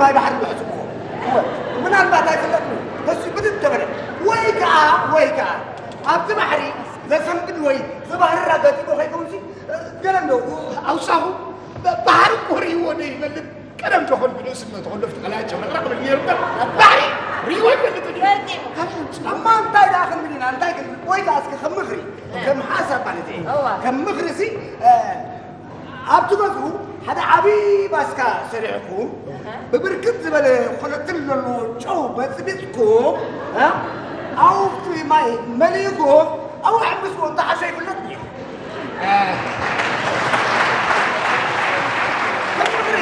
ማይ ባሕሪ ብሕጽብዎ። እወ፣ ምናልባት ኣይፍለጥን እዩ። ተሱ ብድድ ተበለ። ወይ ከኣ፣ ወይ ከኣ ኣብቲ ባሕሪ ዘሰንብድ ወይ ዘባህርር ኣጋጢሞ ከይከውንሲ፣ ገለ እንዶ ኣውሳኹ ብ-፣ ባሕሪ እኮ ርእይዎ ዶ ይፈልጥ? ቀደም ተኾን ብንእስነቱ ከሎ ኣብቲ ቀላይ ጨመቕረቕ ብል ነይሩ እምበር፣ ባሕሪ ርእይዎ ይፈልጥ ድዩ? ፈልጥ እዩ። እሞ እንታይ ደኣ ክንብል ኢና? እንታይ ክንብል? ወይ ከኣ እስኪ ከም ምኽሪ፣ ከም ሓሳብ ማለት እየ። እዋ። ከም ምኽሪ ሲ፣ እ፣ ኣብቲ ገዝኡ ሓደ ዓቢ ባስካ ሰሪሕኩም፣ ብብርክት ዝበለ ኮለትል ዘለዎ ጨው በጽቢጽኩም፣ እ፣ ኣብቲ ማይ መሊእኩም፣ ኣብኡ ኣሕምስዎ፣ እንተሓሸ ይፍለጥ እዩ። እ። ከም ምኽሪ፣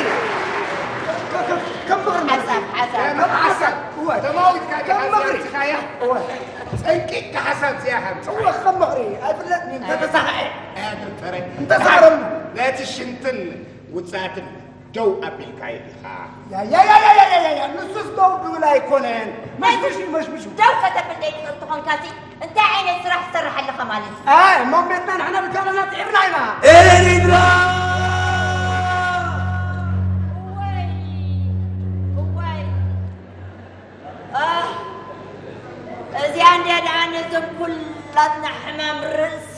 ከ-፣ ከ-፣ ከም ምኽሪ ማለት እዩ። ሓሳብ፣ ሓሳብ። ከም ሓሳብ፣ እወ። ተማዊትካ ዲኻ ከም ምኽሪ። ዘርቲኻያ? እወ። ጸንቂቕካ ሓሳብ እዚኣ ሃምጽኻ። እወ፣ ከም ምኽሪ። ኣይፍለጥን እዩ፣ እንተተሳኽዐ። ኣያ ዶክተረ፣ እንተሳረሉ። ነቲ ሽንትን ውጽኣትን ደው ኣቢልካዮ ኢኻ። ያ፣ ያ፣ ያ፣ ንሱስ ደው ድብል ኣይኮነን። መሽምሽ እዩ፣ መሽምሽ እዩ። ደው ከተብል ዘይትኽእል ተኾንካሲ፣ እንታይ ዓይነት ስራሕ ትሰርሕ ኣለኻ ማለት እዩ? ኣይ፣ እሞ ቤትና ንሕና ብቻና ጽዒርና ኢና። ኤሪትራ! እወይ፣ እወይ። ኣህ፣ እዚኣ እንድያ ደኣ ነዘን ኩላትና ሕማም ርእሲ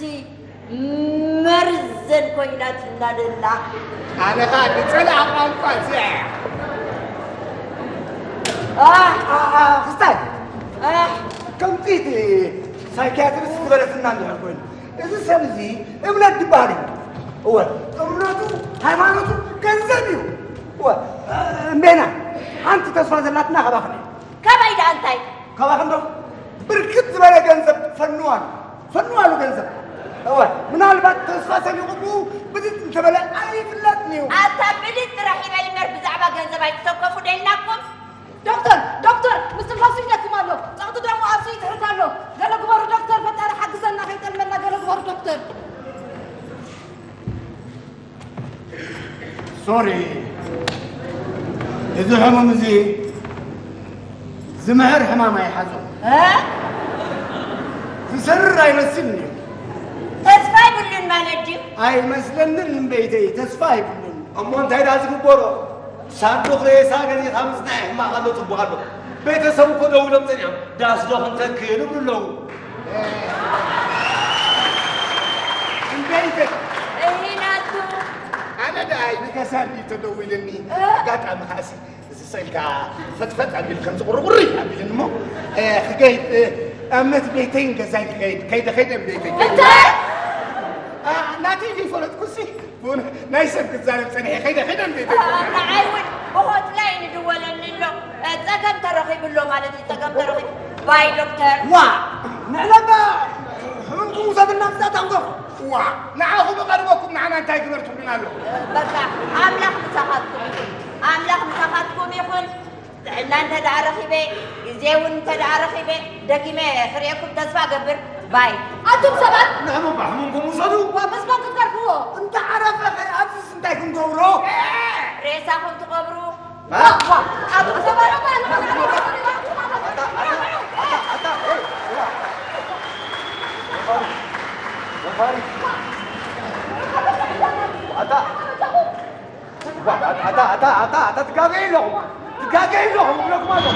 መርዘን ኮይናትና ደላ። ኣነ ኸኣ ዝጸልኣ ቋንቋ እዚኣ እያ። ኣህ፣ ኣ-፣ ኣ-፣ ክስታይ፣ ኣህ። ከምቲ እቲ ሳይኪያትሪስት ዝበለትና እንድሕር ኮይኑ፣ እዚ ሰብ እዚ እምነት ዝበሃል እዩ። እወ፣ እምነቱ፣ ሃይማኖቱ፣ ገንዘብ እዩ። እወ፣ እምቤና፣ ሓንቲ ተስፋ ዘላትና ካባኽን እዩ። ካባይ ደኣ እንታይ? ካባኽን ዶ? ብርክት ዝበለ ገንዘብ ፈንዋሉ። ፈንዋሉ ገንዘብ። እወ፣ ምናልባት ተስፋ ሰኒቑ ብኡ ብድድ እንተበለ ኣይፍለጥን እዩ። ኣታ ብድድ ጥራሕ ይበል እምበር ብዛዕባ ገንዘብ ኣይትተከፉ ደልናኩም። ዶክተር፣ ዶክተር፣ ምስትንፋሱ ይደክም ኣሎ። ጸቕጢ ደሙ ኣብ ስኢት ይሕርድ ኣሎ። ገለ ግበሩ ዶክተር፣ ፈጣሪ ሓግዘና ከይጠልመና ገለ ግበሩ ዶክተር። ሶሪ፣ እዚ ሕሙም እዚ ዝምሕር ሕማም ኣይሓዞ። እ? ዝሰርር ኣይመስልን እዩ። ተስፋ ይብሉን ማለት ድዩ? ኣይመስለንን እምበይተይ፣ ተስፋ ኣይብሉን። እሞ እንታይ ደኣ ዝግበሮ? ሳንዱቕ ሬሳ ገዚእኻ ምጽናሕ ሕማቕ ኣሎ፣ ጽቡቕ ኣሎ። ቤተሰብ እኮ ደው ኢሎም ጸኒሖም፣ ዳስ ዶ ክንተክል ይብሉ ኣለዉ። እምበይተይ። እሂናቱ። ኣነ ደኣ ኣይንከሳን እዩ ተደዊልኒ። እ? ኣጋጣሚ ከኣሲ፣ እዚ ስእልካ ፈጥፈጥ ኣቢል ከምዚ ቁርቁሪ ኣቢልኒ እሞ፣ እ፣ ክገይድ፣ እ፣ ኣብ መት ቤተይን ገዛይ ክገይድ፣ ከይደ፣ ከይደ ቤተይ፣ ከይደ። እንታይ? ኣ፣ ናተይ ዘይፈለጥኩሲ፣ ብእውነት ናይ ሰብ ክዛረብ ጸኒሐ፣ ከይደ፣ ከይደ ቤተይ። ኣ፣ ንዓይ እውን ብሆት ላይ ንድወለኒ ኣሎ። እ፣ ጸገም ተረኺቡ ኣሎ ማለት እዩ፣ ጸገም ተረኺቡ። ባይ ዶክተር። ዋ፣ ንሕና እባ ሕሙምኩም ውሰዱልና ምስዛ ታንጎ። ዋ፣ ንዓኹም ቀድመኩም ንዓና እንታይ ግበር ትብሉና ኣለኹም? በቃ፣ ኣምላኽ ምሳኻትኩም ይኹን። ኣምላኽ ምሳኻትኩም ይኹን። ጥዕና እንተ ደኣ ረኺበ፣ ግዜ እውን እንተ ደኣ ረኺበ፣ ደጊመ ክርእየኩም ተስፋ እገብር። ባይ። ኣቱም ሰባት! ንሕሙም ሕሙምኩም ውሰዱ። ዋ፣ በስመ ኣብ ክትገርፍዎ። እንተ ዓረፈ ኸ ኣብዚስ እንታይ ክንገብሮ? ሬሳኹም ትቐብሩ። ዋ፣ ዋ፣ ኣብ ዘባረባ ኣታ፣ ኣታ፣ ኣታ፣ ኣታ፣ ኣታ፣ ኣታ፣ ትጋገዩ ኣለኹም። ትጋገዩ ኣለኹም፣ እብለኩም ኣለኹ።